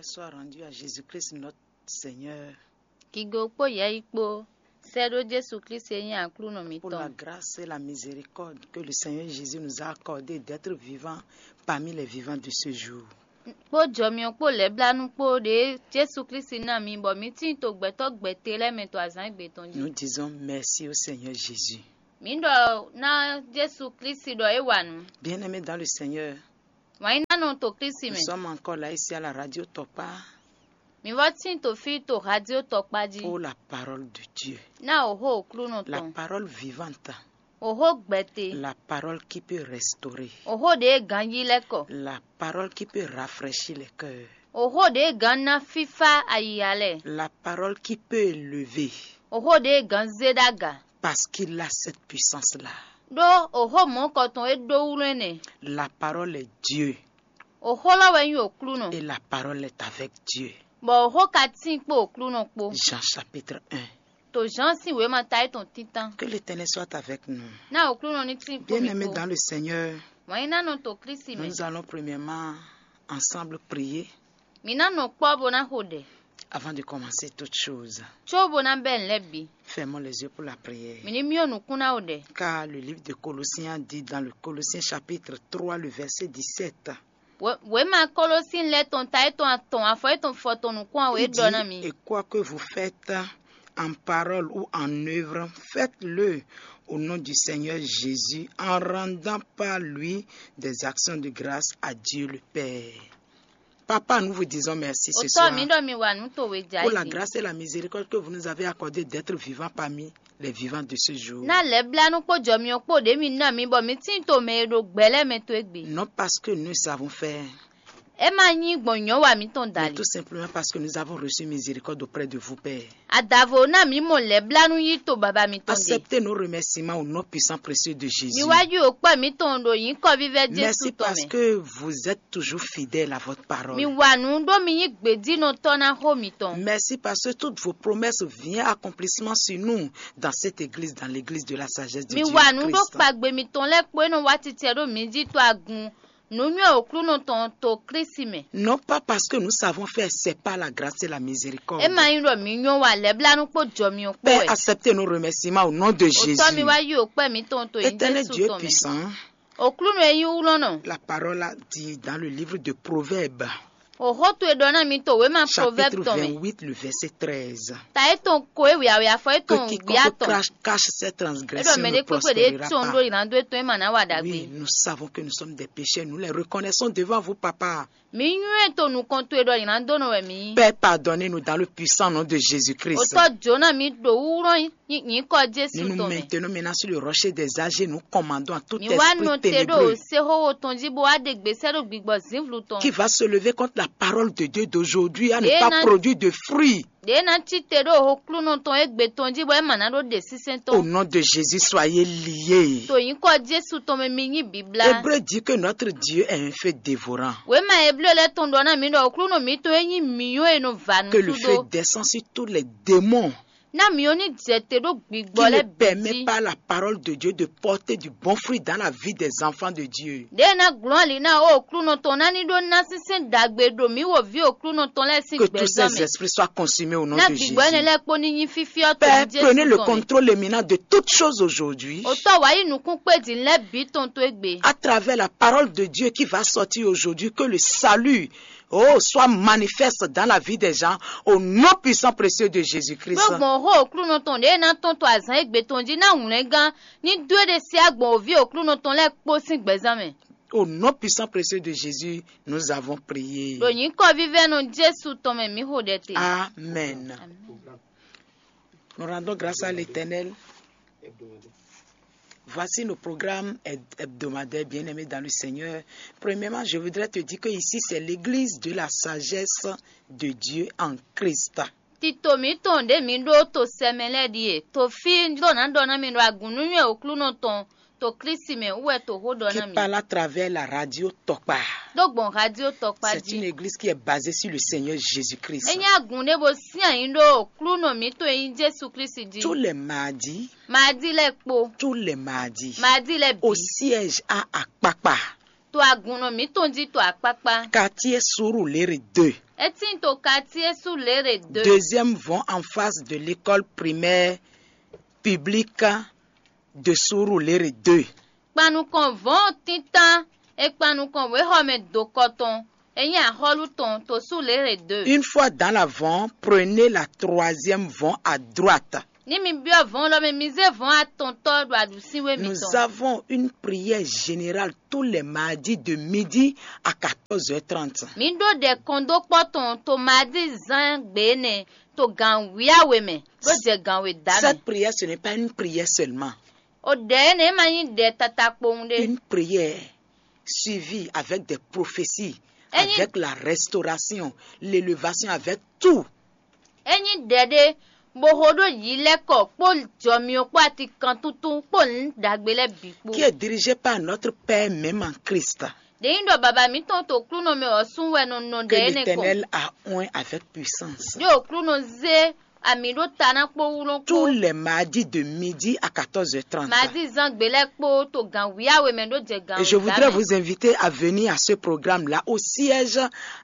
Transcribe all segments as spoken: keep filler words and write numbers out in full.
Soit rendu à Jésus-Christ notre Seigneur. Kigo kpó yɛyi kpó sɛ́ ɖó Jesu Klísu e nyí Aklúnɔ pour la mǐtɔn. Grâce et la miséricorde que le Seigneur Jésus nous a accordé d'être vivants parmi les vivants de ce jour. Kpó jɔmyɔ kpó lɛ̌blánú kpó ɖě Jesu Klísu ná mi bɔ mi tíin to gbɛtɔ́ gbɛte lɛ́ɛ mɛ to azǎn égbé tɔn jí. Nous disons merci au Seigneur Jésus. Mǐ ɖɔ ná Jesu Klísu ɖɔ é wa nǔ. Bien-aimés dans le Seigneur, Wǎn yí ná nɔ to Klísu nous mɛ. Sommes encore là ici à la radio Tokpa. Mi vɔ tín to fí to radio Tɔkpa jí. Pour la parole de Dieu. Ná òhó Aklúnɔ tɔn. La parole vivante. Òhó gbɛte. La parole qui peut restaurer. Òhó ɖě ganjí lɛ́ kɔ. La parole qui peut rafraîchir les cœurs. Òhó ɖě gán ná fífá ayiya lɛ́ɛ. La parole qui peut élever. Òhó ɖě gán zé ɖó aga. Parce qu'il a cette puissance-là. Ɖó òhó mɔ̌kɔ tɔn é ɖó wlɛ́n nɛ. La parole est Dieu. Òhó lɔ wɛ nyí Aklúnɔ. Et la parole est avec Dieu. Bɔ òhó ka tíin kpó Aklúnɔ kpó. Jean chapitre un. To Jean sín wěma ta é tɔn títán. Que l'Éternel soit avec nous. Ná Aklúnɔ ní tíin kpó mi Bien-aimés kpó. Dans le Seigneur, Wǎn yí ná nɔ to Klísu mɛ. Nous allons premièrement ensemble prier. Mǐ ná nɔ kpɔ́ bó ná xo ɖɛ. Avant de commencer toute chose, Có bó ná bɛ́ nǔ lɛ́ɛ bǐ. Fermons les yeux pour la prière. Mǐ ní myɔ nǔkún ná xo ɖɛ. Car le livre de Colossiens dit dans le Colossiens chapitre trois, le verset dix-sept, Wě- wěma Kɔlɔsín lɛ́ɛ tɔn ta é tɔn atɔn afɔ é tɔn fɔ tɔn nǔkún ɔ́ é il dit, ɖɔ ná mi. Et quoi que vous faites en parole ou en œuvre, faites-le au nom du Seigneur Jésus en rendant par lui des actions de grâce à Dieu le Père. Papa, nous vous disons merci ce Òtɔ́ soir mi ɖɔ mi wa nǔ towe jà pour la yìí. Grâce et la miséricorde que vous nous avez accordé d'être vivants parmi les vivants de ce jour. Ná lɛ̌blánú kpó jɔmyɔ kpó ɖě mi ná mi bɔ mi tíin to mɛ e ɖo gbɛ lɛ́ɛ mɛ to égbé. Non parce que nous savons faire, É má nyí gbɔn nyɔ̌ wa mǐtɔn mais dali. Tout simplement parce que nous avons reçu miséricorde auprès de vous, Père. Adavo ná mǐ mɔ lɛ̌blánú yí to baba mitɔn ɖe. Acceptez nos remerciements au nom puissant précieux de Jésus. Mi wá yí òkpɔ́ mǐtɔn ɖo nyǐkɔ vívɛ́ Jésù Merci tɔn parce mɛ. Que vous êtes toujours fidèle à votre parole. Mi wa nǔ ɖó mi nyí gbědínɔtɔ́ ná xó mitɔn. Merci parce que toutes vos promesses viennent accomplissement sur nous dans cette église, dans l'église de la sagesse de Mi Dieu wa nǔ ɖó Christ. Kpagbe mitɔn lɛ́ɛ kpó é nɔ wá titɛ ɖó mi jí to agun nǔnywɛ́ Aklúnɔ tɔn to Klísu mɛ. Non pas parce que nous savons faire, c'est par la grâce et la miséricorde. É ma nyí ɖɔ mǐ nyɔ́ wa lɛ̌blánú kpó jɔ mi ɔ́ kpó Père, wɛ. Acceptez nos remerciements au nom de Jésus. Òtɔ́ mi wá yí òkpɛ́ mǐtɔn to nyí Éternel Jésù Dieu tɔn mɛ. Puissant, Aklúnɔ e nyí wlɔ́nɔ. La parole a dit dans le livre de Proverbes, Òxó towe ɖɔ ná mi to wěma Proverbes chapitre tɔn mɛ. Vingt-huit, le verset treize. Ta étɔn ko é wěyáwě afɔ Que étɔn quiconque wěyá tɔn. Crache, cache ses É ɖɔ transgressions mɛ ne ɖé kpékpé ɖé prospérera tɔn ɖó pas. Ìlànà dó étɔn é ma ná wa ɖagbe. Oui, nous savons que nous sommes des pécheurs, nous les reconnaissons devant vous, Papa. Mǐ nywɛ́ to nukɔn towe ɖɔ nyǐnadónɔ wɛ mǐ nyí. Père, pardonnez-nous dans le puissant nom de Jésus-Christ. Òtɔ́ jǒ ná mi ɖo wúwlɔ́n nyǐkɔ Jésù Nous nous tɔn mɛ. Maintenons maintenant sur le rocher des âges et nous commandons à tout Mǐ wá nɔ esprit te ɖo ténébreux séxóxó tɔn jí bó wá ɖe gbèsè ɖo gbigbɔ zǐnvlu tɔn. Qui va se lever contre la parole de Dieu d'aujourd'hui à ne Ɖě pas ná- produire de fruits. Ɖě ná cí te ɖo Aklúnɔ tɔn égbé tɔn jí bɔ é ma ná ɖó ɖe sínsɛ́n Au tɔn. Nom de Jésus, soyez liés. To nyǐkɔ Jésù tɔn mɛ mi nyí bǐblá. Hébreu dit que notre Dieu est un feu dévorant. Wěma Eblé lɛ́ɛ tɔn ɖɔ ná mǐ ɖɔ Aklúnɔ mǐtɔn e nyí mǐnyɔ́ e nɔ va nǔ Que le feu sú ɖó. Descend sur tous les démons Ná mǐ ɔ́ ní jɛ te ɖó gbigbɔ qui ne lɛ́ɛ bǐ permet jí. Pas la parole de Dieu de porter du bon fruit dans la vie des enfants de Dieu. Ɖě e ná glɔ́n ali ná ó Aklúnɔ tɔn ná ní ɖó ná sínsɛ́n ɖagbe ɖo mǐ wǒví Aklúnɔ tɔn lɛ́ɛ sín Que tous gbɛzán ces mɛ. Esprits soient consumés au nom Ná de Jésus. Gbigbɔ énɛ́ lɛ́ɛ kpó ní nyí fífyɔ́ Père, tɔn Jésù prenez le tɔn mɛ. Contrôle éminent de toutes choses aujourd'hui. Òtɔ́ wǎ yí nukún kpé din lɛ́ɛ bǐ tɔn tó égbé. À travers la parole de Dieu qui va sortir aujourd'hui, que le salut, oh, soit manifeste dans la vie des gens, au nom puissant précieux de Jésus-Christ. Ɖó gbɔn xó Aklúnɔ tɔn ɖě e ná tɔn to azǎn égbé tɔn jí ná wlɛngán ní dó é ɖe sí agbɔn òví Aklúnɔ tɔn lɛ́ɛ kpó sín gbɛzán mɛ. Au nom puissant précieux de Jésus, nous avons prié. Ɖo nyǐkɔ vívɛ́nɔ Jésù tɔn mɛ mǐ xo ɖɛ te. Amen. Amen. Nous rendons grâce à l'Éternel. Voici nos programmes heb- hebdomadaires bien-aimés dans le Seigneur. Premièrement, je voudrais te dire que ici, c'est l'église de la sagesse de Dieu en Christ. Tito mǐtɔn ɖě mǐ ɖó to sɛmɛ lɛ́ɛ ɖíe. To fí ɖó ná ɖɔ ná mi ɖo agun nú nywɛ́ Aklúnɔ tɔn to Klísu mɛ wú wɛ to xó ɖɔ Qui ná mi. Parle à travers la radio Tokpa. Ɖó gbɔn radio Tɔkpa C'est une jí. Église qui est basée sur le Seigneur Jésus-Christ. É nyí agun ɖé bó sín ayǐ ɖó Aklúnɔ mǐtɔn e nyí Jésù Klísu jí. Tous les mardis, Maadi lɛ́ɛ kpó. Tous les mardis, Maadi lɛ́ɛ bǐ. Au siège à Akpakpa. To agunnɔ mǐtɔn jí to akpákpá. Quartier Surulere deux. É tíin to quartier Surulere deux. Deuxième vɔn en face de l'école primaire publique de Surulere deux. Kpanukɔn vɔn tíntan e kpanukɔn wěxɔmɛ dokɔ tɔn e nyí axɔ́lú tɔn to Surulere deux. Une fois dans la vɔn, prenez la troisième vɔn à droite. Ní mi byɔ́ vɔn lɔ mɛ, mi zé vɔn atɔntɔ́ ɖo aɖǔsínwé Nous mitɔn. Avons une prière générale tous les mardis de midi à quatorze heures trente. Mi ɖó ɖɛ kɔn dó kpɔ́ tɔn to mardí zán gbě énɛ́ to gan wíyáwe mɛ ɖó jɛ gan we dá mɛ. Cette prière, ce n'est pas une prière seulement. O ɖɛ énɛ́ ma nyí ɖɛ tata kpowun ɖé. Une prière suivie avec des prophéties, Enyi- avec la restauration, l'élévation, avec tout. É nyí ɖɛ ɖé bó xo ɖó yǐ lɛ́ kɔ kpó jɔmyɔ kpó atikantuntun kpó nǔ ɖagbe lɛ́ɛ bǐ kpó. Qui est dirigée par notre Père même en Christ. Ɖě nyí ɖɔ baba mǐtɔn to klúnɔ mɛ ɔ́ sún wɛ nɔ nɔ Que ɖɛ énɛ́ kɔ. L'Éternel a oint avec puissance. Ɖé o klúnɔ zé ami ɖó ta ná kpó wúlɔ́n kpó. Tous les mardis de midi à quatorze heures trente. Mardí zán gbě lɛ́ɛ kpó to gan wíyáwe mɛ ɖó jɛ gan Et je voudrais vous inviter à venir à ce programme-là au siège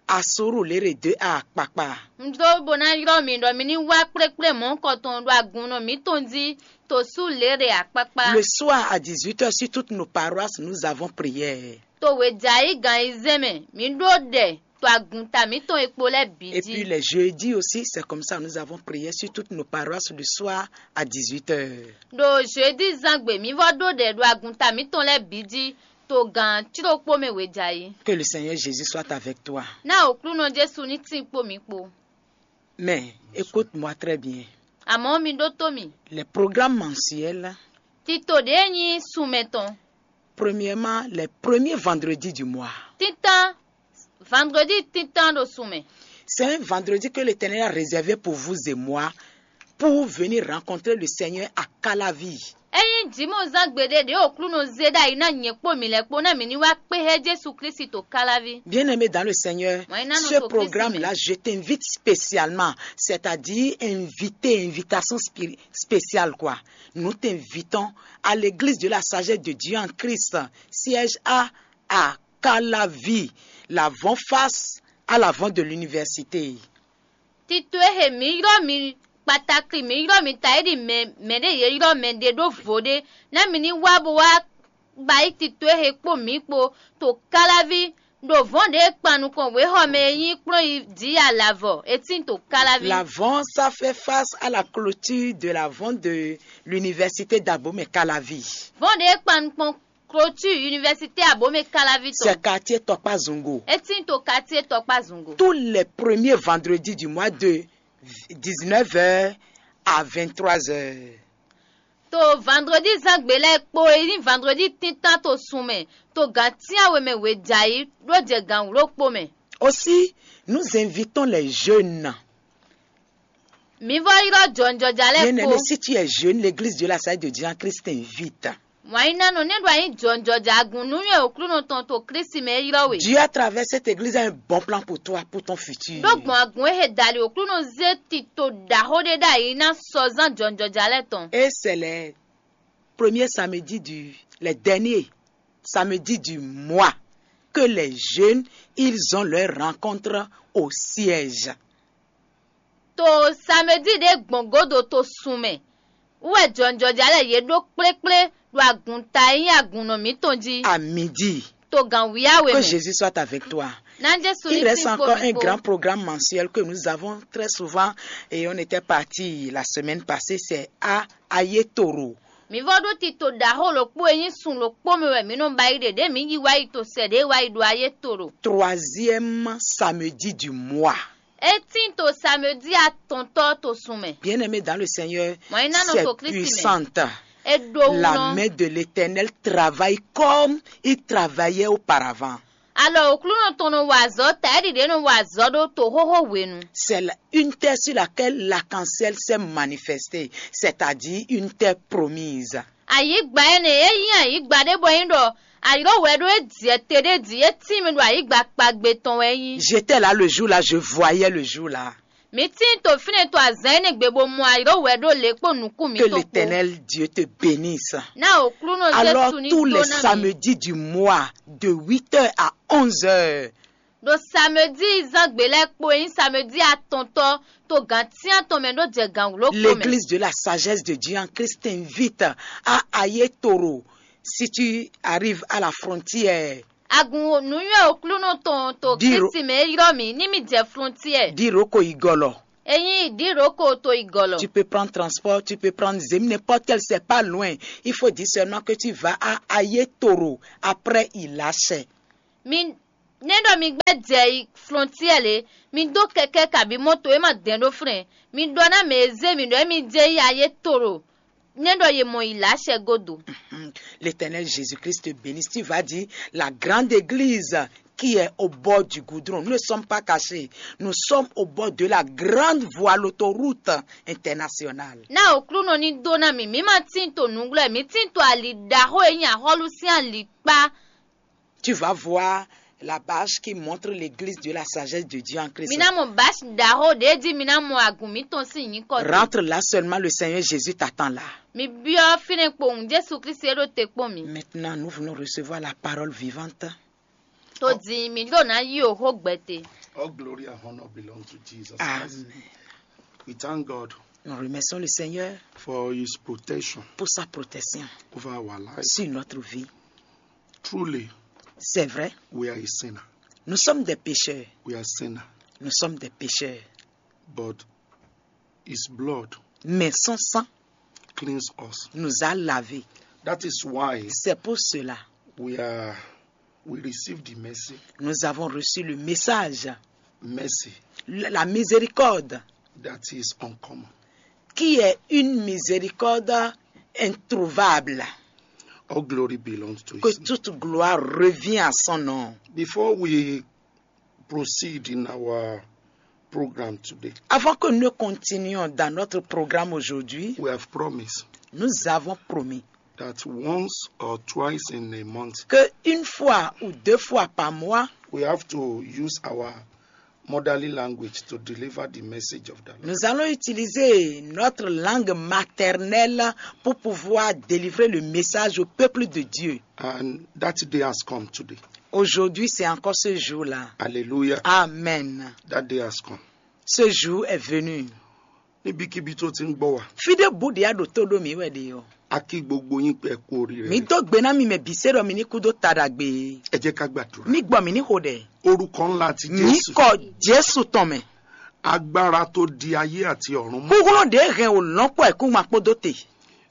à Surulere deux à Akpakpa. Un dó bó ná ylɔ́ mi ɖɔ mi ní wá kplékplé mɔ̌kɔtɔn ɖo agunnɔ mǐtɔn jí to Surulere Akpakpa. Le soir à dix-huit heures, sur toutes nos paroisses, nous avons prière. To wějǎyí gan ayizɛ́n mɛ, mǐ ɖó ɖɛ to agunta mǐtɔn e kpo lɛ́ɛ bǐ Et puis jí. Les jeudis aussi, c'est comme ça, nous avons prière sur toutes nos paroisses le soir à dix-huit heures. Ɖo jeudi zán gbe mǐ vɔ ɖó ɖɛ ɖo agunta mǐtɔn lɛ́ɛ bǐ jí to gan cíɖokpó mɛ wějǎyí. Que le Seigneur Jésus soit avec toi. Ná Aklúnɔ Jesu ní tín kpó mǐ kpó. Mais écoute-moi très bien. Àmọ́ mi ɖótó mì. Les programmes mensuels, Tito ɖě nyí sunmɛ tɔn. Premièrement, les premiers vendredis du mois. Títán, vendredi títán ɖo sunmɛ. C'est un vendredi que l'Éternel a réservé pour vous et moi, pour venir rencontrer le Seigneur à Calavi. Ényí jǐmɔzán gbeɖé ɖě Aklúnɔ zé ɖ'ayǐ ná nyɛ kpó mǐ lɛ́ɛ kpó ná mǐ ní wá kpé hɛ́ Jezu Klísu to Káláví. Bien-aimé dans le Seigneur, Mɔ̌ nyí ná nɔ ce to Kristi programme-là, mɛ. Je t'invite spécialement, c'est-à-dire invité, invitation spé- spéciale, quoi. Nous t'invitons à l'église de la sagesse de Dieu en Christ, siège A à Calavi, l'avant-face à l'avant de l'université. Tito e he mǐ ylɔ́ mi kpatakli mǐ ylɔ́ mi ta é ɖi mɛ mɛ ɖé yě ylɔ́ mɛ ɖé ɖó vo ɖé ná mi ní wá bó wá ba yí tito e he kpó mǐ kpo to Káláví ɖo vɔ̌n ɖě e kpan nukɔn wěxɔ mɛ e nyí kplɔ́n yi jǐ alavɔ e tín to Káláví. L'avant, ça fait face à la clôture de l'avant de l'université d'Abomey Calavi. Vɔ̌n ɖě e kpan nukɔn clôture université Abomey Káláví tɔn. C'est quartier Tɔkpazungo. E tín to quartier Tɔkpazungo. Tous les premiers vendredis du mois de dix-neuf heures à vingt-trois heures. To vendredi zán gbe lɛ́ɛ kpó e nyí vendredi tíntan to sun mɛ to gan tínyawe mɛ wějǎyí ɖó jɛ gan wǔ ɖokpó mɛ. Aussi, nous invitons les jeunes. Mǐ vɔ ylɔ́ jɔnjɔja lɛ́ɛ Bien-aimé, kpó. Si tu es jeune, l'église de la Salle de Dieu en Christ t'invite. Wǎnyínánɔ nɛ́ ɖo anyí jɔnjɔja agun nú nywɛ́ Aklúnɔ tɔn to Klísu mɛ e ylɔ́ we. Dieu, à travers cette église, a un bon plan pour toi, pour ton futur. Ɖó gbɔn agun e he dali Aklúnɔ zé tito ɖaxó ɖé ɖ'ayǐ ná sɔzán jɔnjɔja lɛ́ɛ tɔn. Et c'est les premiers samedis du, les derniers samedis du mois que les jeunes, ils ont leur rencontre au siège. To samedi ɖé gbɔn godo to sun mɛ wú wɛ jɔnjɔja lɛ́ɛ yě ɖó kplékplé ɖo agunta e nyí agunnɔ mǐtɔn jí. À midi. To gan wíyáwe Que mɛ. Jésus soit avec toi. Ná Jesu Il ní reste tín kpo encore mi un kpó. Grand Programme mensuel que nous avons très souvent et on était parti la semaine passée, c'est à Ayetoro. Mǐ vɔ ɖó tito ɖaxó ɖokpó e nyí sun ɖokpó mɛ wɛ mǐ nɔ ba yi ɖe ɖě mǐ yi wá yi to sɛ ɖě wá yi ɖo Ayetoro. Troisième samedi du mois. É tín to samedi atɔntɔ́ to sun mɛ. Bien-aimé dans le Seigneur, Mɔ̌ nyí ná nɔ c'est to Kristi mɛ. Puissante. É ɖó wú La nɔ. Main de l'Éternel travaille comme il travaillait auparavant. Alɔ Aklúnɔ tɔn nɔ wa azɔ̌ ta é ɖiɖě nɔ wa azɔ̌ ɖó to xóxó hwenu. C'est la- une terre sur laquelle l'arc-en-ciel s'est manifesté, c'est-à-dire une terre promise. Ayǐgba énɛ́ é nyí ayǐgba ɖé bɔ é nyí ɖɔ ayǐɖówɛ ɖó é jɛ te ɖé jí é tín mɛ ɖo ayǐgba kpagbe tɔn wɛ é nyí. J'étais là le jour-là, je voyais le jour-là. Mǐ tíin to fínɛ́ to azǎn énɛ́ gbe bó mɔ ayǐɖówɛ ɖó lě kpó nukún Que mǐtɔn kpó. L'Éternel Dieu te bénisse. Ná Aklúnɔ Alors, Jesu ní tous dó les ná mi. Samedis du mois, de huit heures à onze heures, Ɖo samedi zán gbe lɛ́ɛ kpo e nyí samedi atɔntɔ́ to gǎn cyán tɔn mɛ ɖó jɛ gǎn wló kpo mɛ. L'église de la sagesse de Dieu en Christ t'invite à aller toro si tu arrives à la frontière. Agun nǔnywɛ́ Aklúnɔ tɔn to Diro- Kristi mɛ e ylɔ́ mì ní mì jɛ flɔntiɛ. Diroko igɔlɔ. Ényí Diroko to igɔlɔ. Tu peux prendre transport, tu peux prendre Zemi, n'importe quel, c'est pas loin. Il faut dire seulement que tu vas à Ayetoro, après Ilachè. Mi né ɖɔ mi gbɛ́ jɛ yi flɔntiɛ lě, mi dó kɛkɛ́ kabí mɔto e ma dɛn ɖó flɛn. Mi ɖɔ ná mɛ e zé mi ɖɔ émí jɛ yi Ayetoro, né ɖɔ ye mɔ yi lǎ sɛgódo. L'Éternel Jésus-Christ te bénisse. Tu vas dire la grande église qui est au bord du goudron. Nous ne sommes pas cachés. Nous sommes au bord de la grande voie, l'autoroute internationale. Ná Aklúnɔ ní dó ná mi, mǐ ma tín to nǔglɔ́, mǐ tín to ali ɖaxó e nyí axɔ́lú sín ali kpá. Tu vas voir la bâche qui montre l'église de la sagesse de Dieu en Christ. Mi ná mɔ bási ɖaxó ɖě jí mi ná mɔ agun mǐtɔn sín nyǐkɔ. Rentre là seulement, le Seigneur Jésus t'attend là. Mi byɔ́ fínɛ́ kpowun Jésù Kristi e ɖo te kpɔ́n mi. Maintenant, nous voulons recevoir la parole vivante. Tó dín mi ɖó ná yí o xó gbɛtɛ. All glory and honor belong to Jesus Christ. Amen. We thank God Nous remercions le Seigneur for his protection pour sa protection over our life. Sur notre vie. Truly, c'est vrai, we are a sinner. Nous sommes des pécheurs. We are sinner. Nous sommes des pécheurs. But his blood, mais son sang, cleans us, nous a lavés. That is why, c'est pour cela, we are, we receive the mercy. Nous avons reçu le message. Mercy. La, la miséricorde. That is uncommon. Qui est une miséricorde introuvable. All glory belongs to his name. Que toute gloire revient à son nom. Before we proceed in our program today, avant que nous continuions dans notre programme aujourd'hui, we have promised, nous avons promis, that once or twice in a month, que une fois ou deux fois par mois, we have to use our motherly language to deliver the message of the Lord. Nous allons utiliser notre langue maternelle pour pouvoir délivrer le message au peuple de Dieu. And that day has come today. Aujourd'hui, c'est encore ce jour-là. Hallelujah. Amen. That day has come. Ce jour est venu. Níbikíbi tó ti ń gbọ́ wa, fide bu ɖe aɖo tó ɖo mí wɛ ɖe ɔ. A kí gbogbo yín pé ẹ kú oríire. Mí dó gbe ná mi mɛ bǐ se ɖɔ mi ní kú dó ta ɖagbe. Ẹ jẹ́ ká gbàdúrà. Mí gbɔ mí ní xo ɖɛ. Orúkọ ńlá ti mí Jésù. Kɔ Jésù tɔn mɛ. Agbára tó di ayé àti ọ̀run mú. Kúkúnú ɖě hɛn wò lɔn kpɔ ɛ kú ma kpódó te.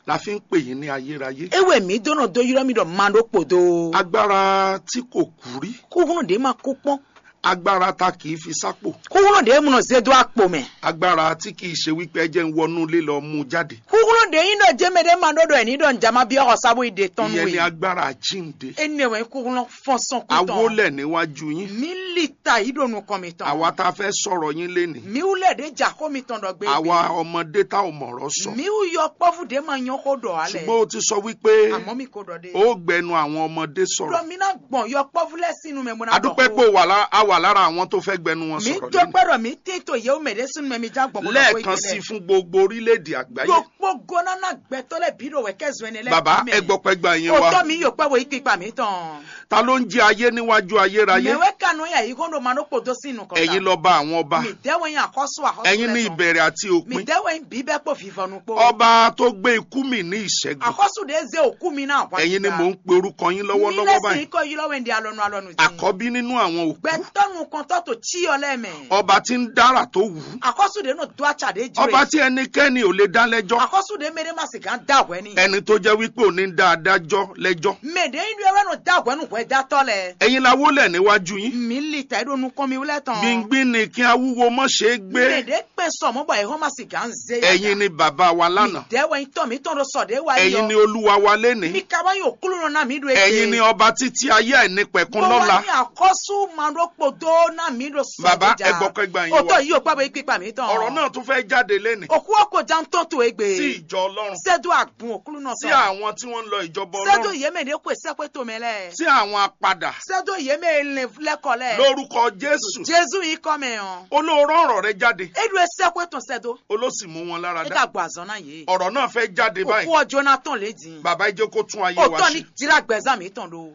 La fi ń pè yín ní ayérayé. Ewé mi dó nɔ dó ylɔ́ mi ɖɔ ma ɖó kpòdó. Agbára tí kò kú rí. Kúkúnú ɖě ma kú kpɔ́n. Agbára ta kì í fi sápò. Kúkúnú ɖě mu nɔ zé dó akpo mɛ. Agbára tí kì í ṣe wípé ẹ jẹ́ ń wọnú ilé lọ mú jáde. Kúkúnú ɖě nyí ɖɔ jẹ́ mɛ ɖé ma ɖó ɖɔ ẹ̀ ní ɖɔ ǹjá má byɔ́ xɔ sábó yi ɖe tɔn nú Ìyẹn ni é. Agbára àjíǹde. Énɛ́ wɛ kúkúnú fɔ́n sɔn kú tɔn. A wólẹ̀ níwájú yín. Mí li ta yí ɖo nukɔn mitɔn. Àwa tá a fẹ́ sọ̀rọ̀ yín lénìí. Mí wú lẹ̀ ɖě jà xó mitɔn ɖɔ gbé. Àwa ọmọdé tá ò mọ̀rọ̀ sọ. Mí wú yɔkpɔ́vú ɖě ma nyɔ́ xó ɖɔ alɛ. Ṣùgbọ́n o ti sọ wípé Àmọ́ mi ko ɖɔ ɖé. Ó gbẹnu àwọn ọmọdé sọ̀rọ̀. Ɖɔ mi ná gbɔn yɔkpɔ́vú lẹ́sìn inú mɛ bó ná A dúpẹ́ pé o wà lá- a wà lára àwọn tó fẹ́ gbẹnu wọn Mi sọ̀rọ̀ dúpẹ́ lónìí. Ɖɔ mi tín to yewu mɛ ɖé sunu mɛ mi já gbɔn bó nɔ Lẹ́ẹ̀kan sí fún gbogbo orílẹ̀-èdè àgbáyé. Gbogbo gɔnana gbɛtɔ lɛ bi ɖo wɛ kɛ zɔn ɛnɛ lɛ. Bàbá, ɛ gbɔ pẹ́ gba yẹn wá. Otɔ mi yɔ pɛ wo ikpi kpa mi tɔn. Ta ló ń jẹ ayé níwájú ayérayé? Mɛ wɛ kanu ya yi kɔn ɖo ma ɖo kpodo sin nukɔn. Ẹ̀yin lọ́ba àwọn ọba. Mi dɛ wɛ yin akɔsu akɔsu. Ẹ̀yin ni ìbẹ̀rẹ̀ àti òpin. Mi dɛ wɛ yin bibɛ kpo vivɔnu kpo. Ọba tó gbé ikú mì ní ìṣẹ́gun. Akɔsu de ze oku mi na wa. Ẹ̀yin ni mò ń pe orúkọ yín lọ́wọ́lọ́wọ́ báyìí. Nílẹ̀ sí ikọ̀ yìí lọ́wọ́ ẹ̀ ń di alọ́nu alọ́nu. Àkọ́bí nínú àwọn òkú. Gbẹtɔnu kɔntɔ to tsi yɔ lɛ mɛ. Ọba tí ń dára tó wù ú. Akɔsu de nɔ do atsa de ju. Ọba tí ẹnikẹ́ni ò lè dá lẹ́jọ́. Akɔsu de mɛ de ma sì gán da wɛ ni. Ẹni tó jẹ́ wípé ò ní dá adájọ́ lẹ́jọ́. Mɛ de yin do wɛ nɔ da wɛ nu hwɛ datɔ lɛ. Ẹ̀yin la wólẹ̀ níwájú yín. Mi li ta ɖo nukɔn mi wlɛ tɔn. Gbingbin ni kí awúwo mọ́ ṣe é gbé. Mɛ de kpɛn sɔmɔ bɔ ehɔn ma sì gán ze ya. Ẹ̀yin ni bàbá wa lánàá. Mi dɛ wɛ yin tɔ mi tɔn ɖo sɔ de wa yi. Ẹ̀yin ni olúwa wa lénìí. Mi ka wá yin òkúlù nɔ na mi ɖo egbe. Ẹ̀yin ni ọba títí ayé àìnípẹ̀kun lọ́la. Bó wá yin akɔsu ma ɖo kpodo na mi ɖo sɔ de ja. Bàbá, ẹ gbọ́ pé gba yín wá. Otɔ yìí ò gbàgbé gbígbà mi tɔn. Ọ̀rọ̀ náà tún fẹ́ jáde lénìí. Òkú ọkọ jan tɔn to egbe. Sí ìjọ Ọlọ́run. Sẹ́dọ̀ àgùn òkúlù náà sọ. Sí àwọn tí wọ́n ń lọ ìjọba Ọlọ́run. Sẹ́dọ̀ yìí mẹ́ de kó sẹ́kpẹ́ tó mẹ́ lẹ́. Sí àwọn apadà. Sẹ́dọ̀ yìí mẹ́ lẹ́kọ̀ọ́ lẹ́. Lórúkọ Jésù. Jésù yìí kọ́ mẹ́ ọ́. Olóòrán ọ̀rọ̀ rẹ jáde. Eɖo esɛxwe tɔn sɛdo. Olóòsì mú wọn lára dá. Ega gbɔ azɔn na ye. Ọ̀rọ̀ náà fẹ́ jáde báyìí. Òkú ọjọ́ náà tán lé dín. Bàbá, ẹ jẹ́ kó tún ayé wa ṣe. Òtọ́ ni jìlá gbẹ̀zán mi tán do.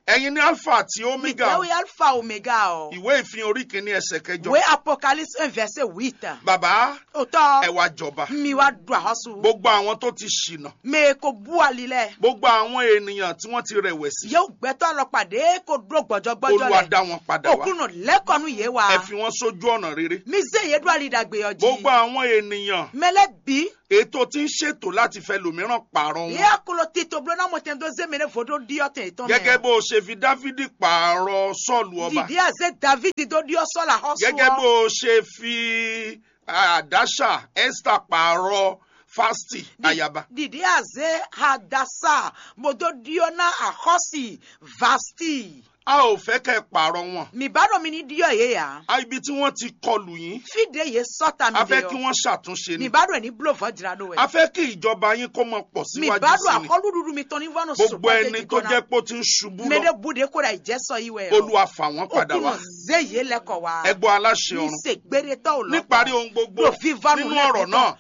Ẹ̀yin ní Alpha àti Omega. Miguel Alpha Omega o. Ìwé ìfihàn orí kìíní ẹsẹ̀ kẹjọ. Wé Apocalypse un verset huit. Bàbá, Otɔ, ẹ wá jọba. Mi wá ɖu àhɔsù. Gbogbo àwọn tó ti ṣìnà. Mɛ ko bú ali lɛ. Gbogbo àwọn ènìyàn tí wọ́n ti rẹ̀wẹ̀sì. Yóò gbẹtɔ alɔkpa ɖe ko ɖó gbɔjɔgbɔjɔ lɛ. Olúwa dá wọn padà wá. Òkúnnù lẹ́kọ̀ọ́nù yé wa. Ẹ fi wọn sójú ọ̀nà rere. Mi zé yé ɖó ali ɖagbe ɔ jí. Gbogbo àwọn ènìyàn. Mɛ lɛ bí. Ètò tí ń ṣètò láti fẹ́ lòmíràn pààrọ̀ wọn. Yé akolo tito bló ná mo tɛn dó zé mi ní vodó ɖi ɔtɛn ètò mɛ. Gẹ́gẹ́ bó o ṣe fi Dáfídì pààrọ̀ Sọ́ọ̀lù ọba. Dìde àzé David dó ɖi ɔsọ la xɔsù. Gẹ́gẹ́ bó o ṣe fi àdáṣà Esther pààrọ̀ Fásitì ayaba. Dìde àzé Hadasa bó dó ɖi ɔ ná àxɔsì Vasti. A ò fẹ́ kẹ́ pààrọ̀ wọn. Mi bá ɖo mi ní ɖi ɔ yé ya. A ibi tí wọ́n ti kọlù yín. Fi ɖe yé sɔta mi. A fẹ́ kí wọ́n ṣàtúnṣe ni. Mi bá ɖo ní bló vɔ jira ɖo wɛ. A fẹ́ kí ìjọba yín kó mọ pọ̀ síwájú sí ni. Mi bá ɖo akɔlùɖuɖu mi tɔn ní vɔ nɔ sɔkɔ. Gbogbo ẹni tó jẹ́ pé ó ti ń ṣubú lọ. Mɛ ɖe bu ɖe kó ɖa ìjẹ́ sɔ yi wɛ. Olúwa fà wọ́n padà wá. Okùnà zé yé lẹ́kọ̀ọ́ wa. Ẹ gbọ́ aláṣẹ ọ̀run. Mi se gbére tɔw lọ. Níparí ohun gbogbo, nínú ọ̀rọ̀ náà,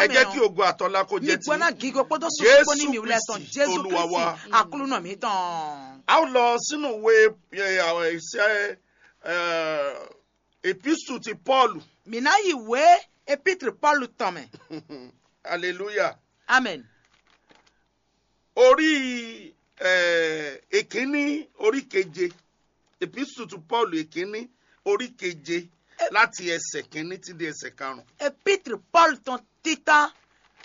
ẹ jẹ́ kí ògo àtọ́lá kó jẹ́ ti. Nígbà náà gígé kpódó sùn kpó ní mi wulẹ̀ tán Jésù Kristi, Aklúnà mi tán. A ó lọ sínú ìwé, ẹ, àwọn iṣẹ́, ẹ, epísù ti Pọ́ọ̀lù. Mi ná yi wé epítri Pọ́ọ̀lù tán mɛ. Hallelujah. Amen. Orí, ẹ, èkíní, orí keje. Epísù ti Pọ́ọ̀lù èkíní, orí keje, láti ẹsẹ̀ kìíní títí di ẹsẹ̀ karùn-ún. Epítri Pọ́ọ̀lù tán títán,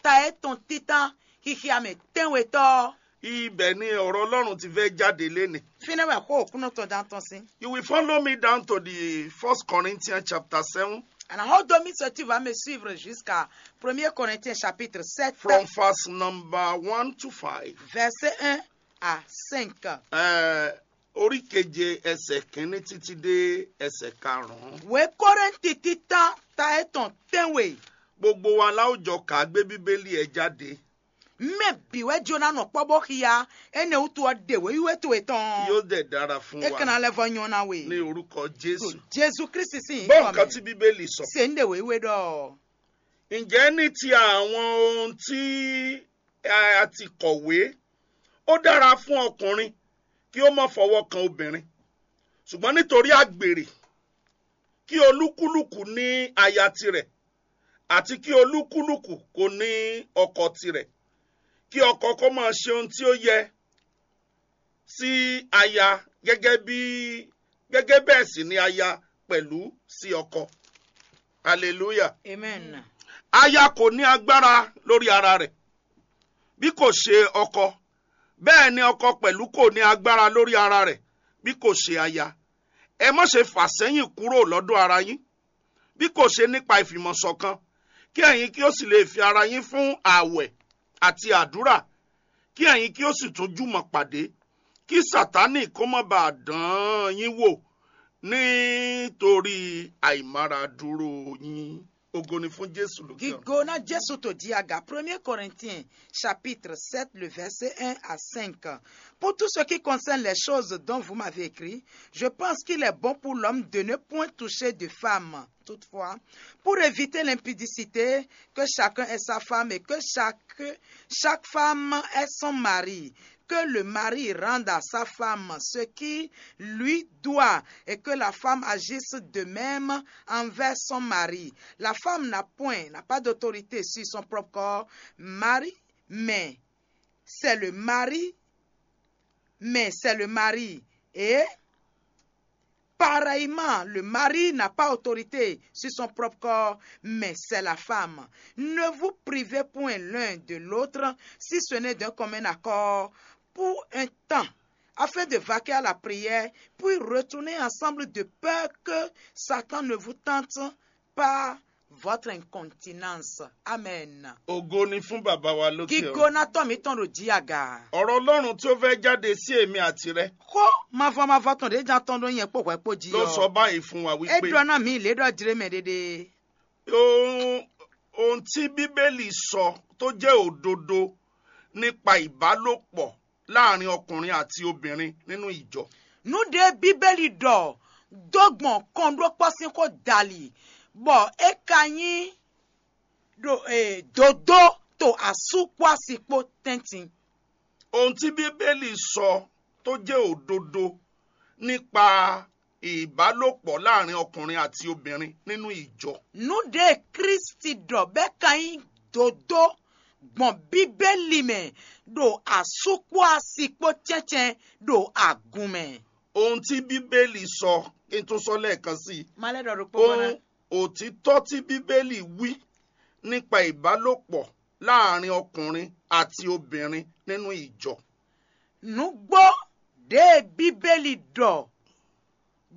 ta é tán títán, xixi amɛ tɛ́nwetɔ́. Ibẹ̀ ni ọ̀rọ̀ Ọlọ́run ti fẹ́ jáde lénìí. Fínɛ́ wɛ xó òkúnɔ tɔn dán tɔn sín. You will follow me down to the First Corinthians chapter seven. Àná ó domi sọ tí va mi suivre jusqu'à premier Corinthiens chapitre sept. From verse number one to five. Verset un à cinq. Ẹ, orí keje ẹsẹ̀ kìíní títí dé ẹsẹ̀ karùn-ún. Wé Kórintì títán ta é tɔn tɛ́nwe. Gbogbo wa la ó jọ kà gbé Bíbélì ẹ jáde. Mɛ bǐ wɛ jona nɔ kpɔ́ bó xia, énɛ́ wútu ɔ́ ɖe wěwíwé towe tɔn. Yóò dẹ̀ dára fún wa. É kana lɛ́ vɔ nyɔ́ ná we. Ní orúkọ Jésù. Jésù Kristi sín. Gbọ́ nǹkan tí Bíbélì sọ. Ṣe ń ɖe wéwé ɖɔ. Ǹjẹ́ ní ti àwọn ohun tí a ti kọ̀wé, ó dára fún ọkùnrin kí ó má fọwọ́ kan obìnrin, ṣùgbọ́n nítorí àgbèrè, kí olúkúlùkù ní aya tirẹ̀, àti kí olúkúlùkù kó ní ọkọ tirẹ̀, kí ọkọ kó máa ṣe ohun tí ó yẹ sí aya gẹ́gẹ́ bí, gẹ́gẹ́ bẹ́ẹ̀ sì ni aya pẹ̀lú sí ọkọ. Hallelujah. Amen. Aya kò ní agbára lórí ara rẹ̀, bí kò ṣe ọkọ. Bẹ́ẹ̀ ni ọkọ pẹ̀lú kò ní agbára lórí ara rẹ̀, bí kò ṣe aya. Ẹ má ṣe fà sẹ́yìn kúrò lọ́dọ̀ ara yín, bí kò ṣe nípa ìfìmọ̀ ṣọ̀kan, kí ẹ̀yin kí ó sì lè fi ara yín fún ààwẹ̀ àti àdúrà, kí ẹ̀yin kí ó sì tún jùmọ̀ pàdé, kí Sátánì kó má bàa dán yín wò nítorí àìmáradúró yín. Ògo ni fún Jésù lókè ọ̀run. Gigo na Jésù tó di aga. Premier Corinthiens chapitre sept, le verset un à cinq. Pour tout ce qui concerne les choses dont vous m'avez écrit, je pense qu'il est bon pour l'homme de ne point toucher de femme. Toutefois, pour éviter l'impudicité, que chacun ait sa femme et que chaque, chaque femme ait son mari, que le mari rende à sa femme ce qui lui doit et que la femme agisse de même envers son mari. La femme n'a point, n'a pas d'autorité sur son propre corps, mari, mais c'est le mari, mais c'est le mari. Et pareillement, le mari n'a pas autorité sur son propre corps, mais c'est la femme. Ne vous privez point l'un de l'autre, si ce n'est d'un commun accord, pour un temps, afin de vaquer à la prière, puis retourner ensemble de peur que Satan ne vous tente par votre incontinence. Amen. Ògo ni fún bàbá wa lókè ọ̀run. Gígóná tọ́ mi tán ɖo jí aga. Ọ̀rọ̀ Ọlọ́run tí ó fẹ́ jáde sí èmi àti rẹ. Xó mavɔ mavɔ tɔn ɖě jan tɔn ɖó nyɛ kpó hwɛ kpó jí. Ló sọ báyìí fún wa wípé. É ɖɔ ná mi lě ɖɔ jlé mɛ ɖéɖé. Ohun, ohun tí Bíbélì sọ tó jẹ́ òdodo nípa ìbálòpọ̀ láàrin ọkùnrin àti obìnrin nínú ìjọ. Nǔ ɖé Bíbélì ɖɔ dó gbɔn kɔnɖókpɔ́ sín xó dali, bɔ é ka nyí ɖo, e, dodó to asú kpó asi kpó tɛ́ntin. Ohun tí Bíbélì sɔ tó jẹ́ òdodo nípa ìbálòpọ̀ láàrin ọkùnrin àti obìnrin nínú ìjọ. Nǔ ɖě Kristi ɖɔ bɛ́ ka nyí dodó gbɔn Bíbélì mɛ ɖo asú kpó asi kpó cɛ́ncɛ́n ɖo agun mɛ. Ohun tí Bíbélì sɔ, kí n tún sɔ lẹ́ẹ̀kan sí i. Má lɛ́ ɖɔ ɖokpó gbɔn ná. Ohun òtítọ́ tí Bíbélì wí nípa ìbálòpọ̀ láàrin ọkùnrin àti obìnrin nínú ìjọ. Nǔgbó ɖě Bíbélì ɖɔ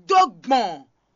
dó gbɔn